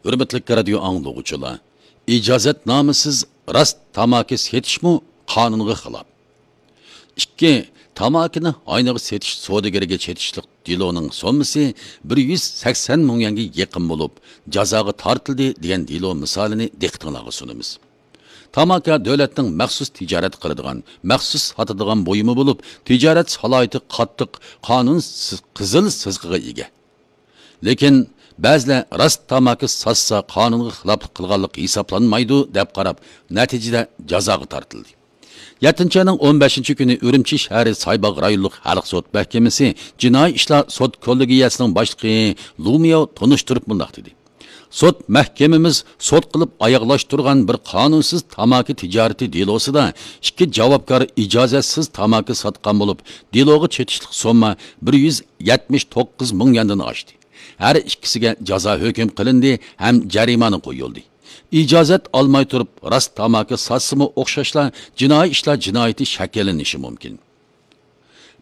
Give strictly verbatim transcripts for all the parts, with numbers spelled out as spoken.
ھۆرمەتلىك رادىيو ئاڭلىغۇچىلار، ئىجازەتنامىسىز راست تاماكا سېتىشمۇ قانۇنغا خىلاپ. ئىككى، تاماكىنى ئاينىغا سېتىش سودىگىرىگە چېتىشلىق دېلونىڭ سوممىسى بىر يۈز سەكسەن مىڭ يۈەنگە يېقىن بولۇپ، جازاغا تارتىلدى دېگەن دېلو مىسالىنى دىققىتىڭلارغا سۇنىمىز. تاماكا دۆلەتنىڭ مەخسۇس تىجارەت قىلىدىغان، مەخسۇس ساتىدىغان بۇيۇمى بولۇپ، تىجارەت سالاھىيىتى قاتتىق قانۇن سىز-، قىزىل سىزىقىغا ئىگە. لېكىن بەزىلەر راست تاماكا ساتسا قانۇنغا خىلاپلىق قىلغانلىق ھېسابلانمايدۇ دەپ قاراپ، نەتىجىدە جازاغا تارتىلدى. يەتتىنچى ئاينىڭ ئون بەشىنچى كۈنى ئۈرۈمچى شەھىرى سايباغ رايونلۇق خەلق سوت مەھكىمىسى جىنايى ئىشلار سوت كوللېگىيەسىنىڭ باشلىقى لۇمياۋ تونۇشتۇرۇپ مۇنداق دېدى: سوت مەھكىمىمىز سوت قىلىپ ئاياغلاشتۇرغان بىر قانۇنسىز تاماكا تىجارىتى دېلوسىدا ئىككى جاۋابكار ئىجازەتسىز تاماكا ساتقان بولۇپ، دېلوغا چېتىشلىق سومما بىر يۈز يەتمىش توققۇز مىڭ يۈەندىن ئاشتى. ھەر ئىككىسىگە جازا ھۆكۈم قىلىندى ھەم جەرىمانە قويۇلدى. ئىجازەت ئالماي تۇرۇپ راست تاماكا ساتسىمۇ ئوخشاشلا جىنايى ئىشلار جىنايىتى شەكىللىنىشى مۇمكىن.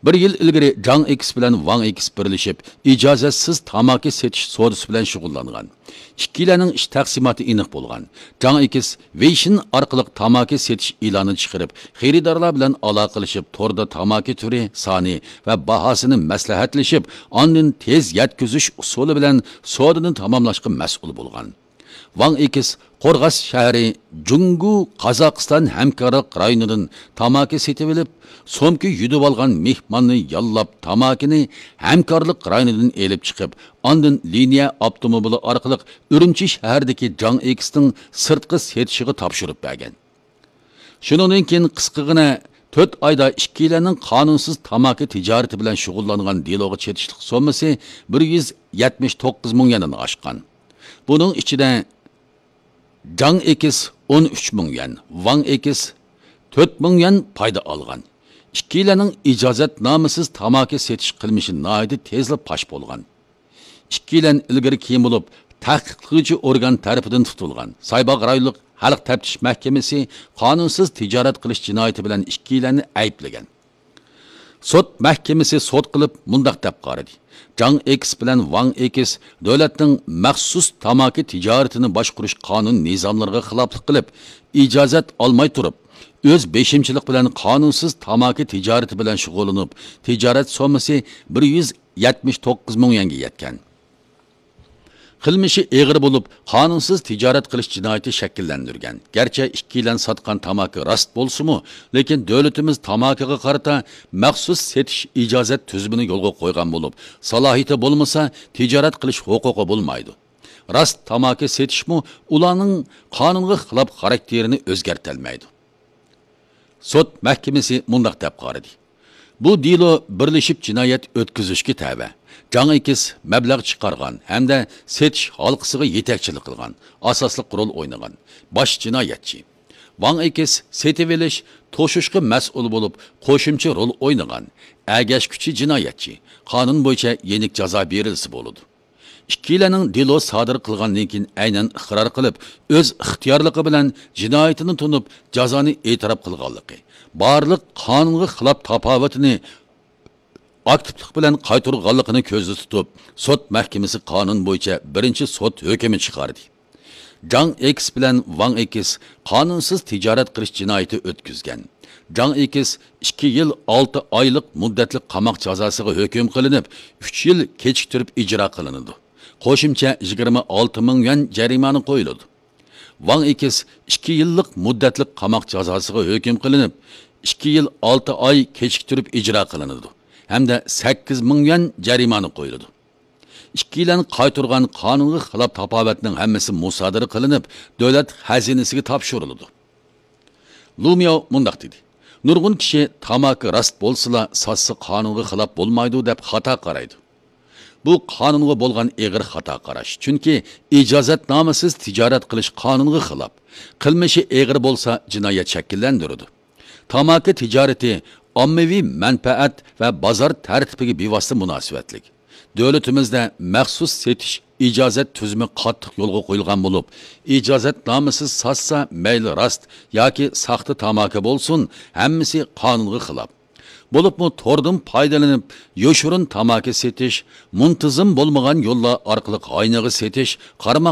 بىر يىل ئىلگىرى جاڭ ئېكس بىلەن ۋاڭ ئېكس بىرلىشىپ، ئىجازەتسىز تاماكا سېتىش سودىسى بىلەن شۇغۇللانغان. ئىككىيلەننىڭ ئىش تەقسىماتى ئېنىق بولغان. جاڭ ئېكس ۋېيشىن ئارقىلىق تاماكا سېتىش ئېلانى چىقىرىپ، خېرىدارلار بىلەن ئالاقىلىشىپ، توردا تاماكا تۈرى، سانى ۋە باھاسىنى مەسلىھەتلىشىپ، ئاندىن تېز يەتكۈزۈش ئۇسۇلى بىلەن سودىنى تاماملاشقا مەسئۇل بولغان. ۋاڭ ئېكس قورغاس شەھىرى جۇڭگو قازاقىستان ھەمكارلىق رايونىدىن تاماكا سېتىۋېلىپ، سومكا يۈدۈۋالغان مېھماننى ياللاپ، تاماكىنى ھەمكارلىق رايونىدىن ئېلىپ چىقىپ، ئاندىن لىنىيە ئاپتوموبىلى ئارقىلىق ئۈرۈمچى شەھىرىدىكى جاڭ ئېكسنىڭ سىرتقا سېتىشىغا تاپشۇرۇپ بەرگەن. شۇنىڭدىن كېيىن قىسقىغىنە تۆت ئايدا ئىككىيلەننىڭ قانۇنسىز تاماكا تىجارىتى بىلەن شۇغۇللانغان دېلوغا چېتىشلىق سوممىسى بىر يۈز يەتمىش توققۇز مىڭ يۈەندىن ئاشقان. بۇنىڭ ئىچىدە جاڭ ئېكس ئون ئۈچ مىڭ يۈەن، ۋاڭ ئېكس تۆت مىڭ يۈەن پايدا ئالغان. ئىككىيلەننىڭ ئىجازەتنامىسىز تاماكا سېتىش قىلمىشى ناھايىتى تېزلا پاش بولغان. ئىككىيلەن ئىلگىرى كېيىن بولۇپ، تەھقىقلىگۈچى ئورگان تەرىپىدىن تۇتۇلغان. سايباغ رايونلۇق خەلق تەپتىش مەھكىمىسى قانۇنسىز تىجارەت قىلىش جىنايىتى بىلەن ئىككىيلەننى ئەيىبلىگەن. سوت مەھكىمىسى سوت قىلىپ مۇنداق دەپ قارىدى: جاڭ ئېكس بىلەن ۋاڭ ئېكس دۆلەتنىڭ مەخسۇس تاماكا تىجارىتىنى باشقۇرۇش قانۇن نىزاملىرىغا خىلاپلىق قىلىپ، ئىجازەت ئالماي تۇرۇپ، ئۆز بېشىمچىلىق بىلەن قانۇنسىز تاماكا تىجارىتى بىلەن شۇغۇللىنىپ، تىجارەت سوممىسى بىر يۈز يەتمىش توققۇز مىڭ يۈەنگە يەتكەن. قىلمىشى ئېغىر بولۇپ، قانۇنسىز تىجارەت قىلىش جىنايىتى شەكىللەندۈرگەن. گەرچە ئىككىيلەن ساتقان تاماكا راست بولسىمۇ، لېكىن دۆلىتىمىز تاماكىغا قارىتا مەخسۇس سېتىش ئىجازەت تۈزۈمىنى يولغا قويغان بولۇپ، سالاھىيىتى بولمىسا، تىجارەت قىلىش ھوقۇقى بولمايدۇ. راست تاماكا سېتىشمۇ ئۇلارنىڭ قانۇنغا خىلاپ خاراكتېرىنى ئۆزگەرتەلمەيدۇ. سوت مەھكىمىسى مۇنداق دەپ قارىدى: بۇ دېلو بىرلىشىپ جىنايەت ئۆتكۈزۈشكە تەۋە. جاڭ ئېكىس مەبلەغ چىقارغان ھەمدە سېتىش ھالقىسىغا يېتەكچىلىك قىلغان، ئاساسلىق رول ئوينىغان باش جىنايەتچى. ۋاڭ ئېكىس سېتىۋېلىش، توشۇشقا مەسئۇل بولۇپ، قوشۇمچە رول ئوينىغان ئەگەشكۈچى جىنايەتچى. قانۇن بويىچە يېنىك جازا بېرىلسە بولىدۇ. ئىككىيلەننىڭ دېلو سادىر قىلغاندىن كېيىن ئەينەن ئىقرار قىلىپ، ئۆز ئىختىيارلىقى بىلەن جىنايىتىنى تونۇپ، جازانى ئېتىراپ قىلغانلىقى، بارلىق قانۇنغا خىلاپ تاپاۋىتىنى ئاكتىپلىق بىلەن قايتۇرغانلىقىنى كۆزدە تۇتۇپ، سوت مەھكىمىسى قانۇن بويىچە بىرىنچى سوت ھۆكمى چىقاردى. جاڭ ئېكس بىلەن ۋاڭ ئېكس قانۇنسىز تىجارەت قىلىش جىنايىتى ئۆتكۈزگەن. جاڭ ئېكس ئىككى يىل ئالتە ئايلىق مۇددەتلىك قاماق جازاسىغا ھۆكۈم قىلىنىپ، ئۈچ يىل كېچىكتۈرۈپ ئىجرا قىلىنىدۇ. قوشۇمچە يىگىرمە ئالتە مىڭ يۈەن جەرىمانە قويۇلىدۇ. ۋاڭ ئېكس ئىككى يىللىق مۇددەتلىك قاماق جازاسىغا ھۆكۈم قىلىنىپ، ئىككى يىل ئالتە ئاي كېچىكتۈرۈپ ئىجرا قىلىنىدۇ ھەمدە سەككىز مىڭ يۈەن جەرىمانە قويۇلىدۇ. ئىككىيلەن قايتۇرغان قانۇنغا خىلاپ تاپاۋەتنىڭ ھەممىسى مۇسادىرە قىلىنىپ، دۆلەت خەزىنىسىگە تاپشۇرۇلىدۇ. لۇمياۋ مۇنداق دېدى: نۇرغۇن كىشى تاماكا راست بولسىلا، ساتسا قانۇنغا خىلاپ بولمايدۇ دەپ خاتا قارايدۇ. بۇ قانۇنغا بولغان ئېغىر خاتا قاراش، چۈنكى ئىجازەتنامىسىز تىجارەت قىلىش قانۇنغا خىلاپ. قىلمىشى ئېغىر بولسا، جىنايەت شەكىللەندۈرىدۇ. تاماكا تىجارىتى ئاممىۋى مەنپەئەت ۋە بازار تەرتىپىگە بىۋاسىتە مۇناسىۋەتلىك. دۆلىتىمىزدە مەخسۇس سېتىش ئىجازەت تۈزۈمى قاتتىق يولغا قويۇلغان بولۇپ، ئىجازەتنامىسىز ساتسا، مەيلى راست ياكى ساختا تاماكا بولسۇن، ھەممىسى قانۇنغا خىلاپ. بولۇپمۇ توردىن پايدىلىنىپ، يوشۇرۇن تاماكا سېتىش، مۇنتىزىم بولمىغان يوللار ئارقىلىق ئاينىغا سېتىش، قارىماق